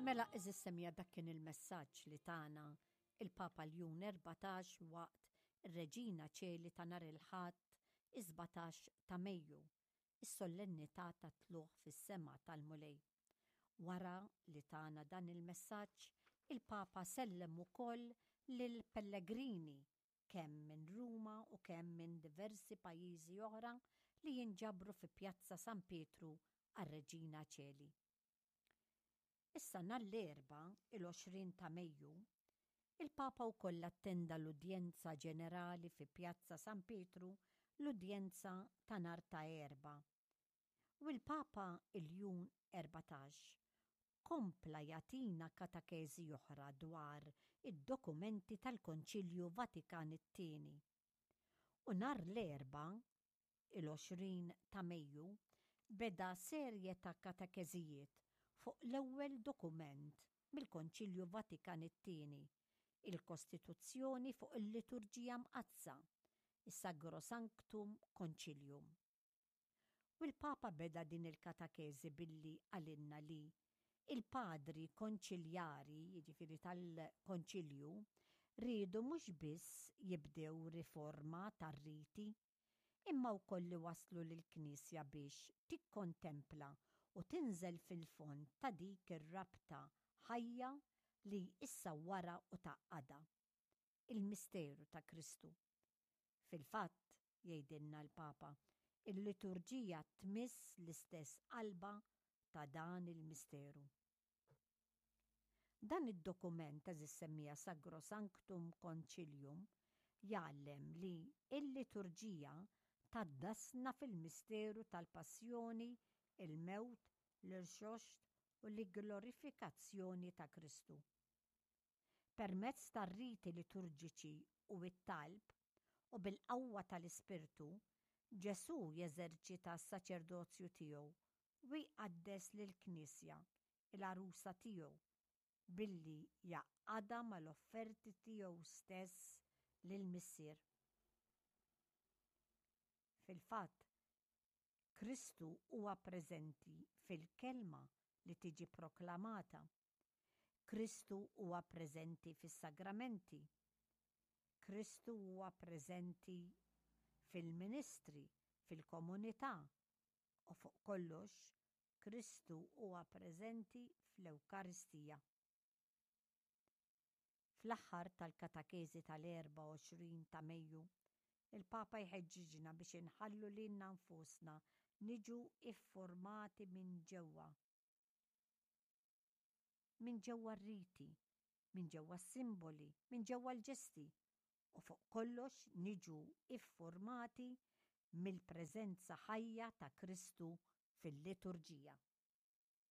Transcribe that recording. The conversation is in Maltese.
Mela għeżież semmiegħa dak kien il-messaġġ li tana il-Papa Ljun 14 waqt ir-Reġina Ċeli ta' nhar il-Ħadd is-17 ta' Mejju, is-sollennità tat-Tlugħ fis-Sema tal-Mulej. Wara li tana dan il-messaġġ, il-Papa sellem ukoll lill-pellegrini kemm minn Ruma u kemm minn diversi pajjiżi oħra li jinġabru fi Pjazza San Pietru għar-Reġina Ċeli. Issa nhar l-Erbgħa, il-20 ta' Mejju, il-Papa wkoll attenda l-udjenza ġenerali fi Pjazza San Pietru, l-udjenza ta' nhar ta' Erbgħa. U l-Papa Iljun 14 kompla jagħtina katakeżi oħra dwar id-dokumenti tal-Konċilju Vatikan it-Tieni. U nhar l-Erbgħa, il-20 ta' Mejju, beda serje ta' katekeżijiet fuq l-ewwel dokument mill-Konċilju Vatikan it-Tieni, il-Kostituzzjoni fuq il-Liturġija Mqaddsa, is-Sagrosanctum Concilium. U l-Papa beda din il-katakeżi billi qalilna li l-Padri Konċiljari, jiġifieri tal-Konċilju, riedu mhux biss jibdew riforma tar-riti, imma wkoll iwasslu lill-Knisja biex tikkontempla u tinżel fil-fond ta' dik ir-rabta ħajja li issawwarha u tgħaqqadha, il-misteru ta' Kristu. Fil-fatt, jgħidilna l-Papa, il-liturġija tmiss l-istess qalba ta' dan il-misteru. Dan id-dokument, għeżież semmiegħa Sagrosanctum Concilium, jgħallem li l-liturġija tgħaddasna fil-misteru tal-passjoni, il-mewt, l-irxoxt u l-glorifikazzjoni ta' Kristu. Permezz tar-riti liturġiċi u t-talb, u bil-qawwa tal-Ispirtu, Ġesù jeżerċita s-saċerdozju tiegħu u jqaddes lill-Knisja, il-għarusa tiegħu, billi jgħaqqadha mal-offerti tiegħu stess lill-Missier. Fil-fatt, Kristu huwa preżenti fil-kelma li tiġi proklamata. Kristu huwa preżenti fis-sagramenti. Kristu huwa preżenti fil-ministri, fil-komunità, u fuq kollox, Kristu huwa preżenti fl-Ewkaristija. Fl-aħħar tal-katakeżi tal-24 ta' Mejju, il-Papa jħeġġiġna biex inħallu lilna nfusna niġu iffurmati minn ġewwa. Minn ġewwa r-riti, minn ġewwa s-simboli, minn ġewwa l-ġesti, u fuq kollox niġu iffurmati mill-preżenza ħajja ta' Kristu fil-liturġija.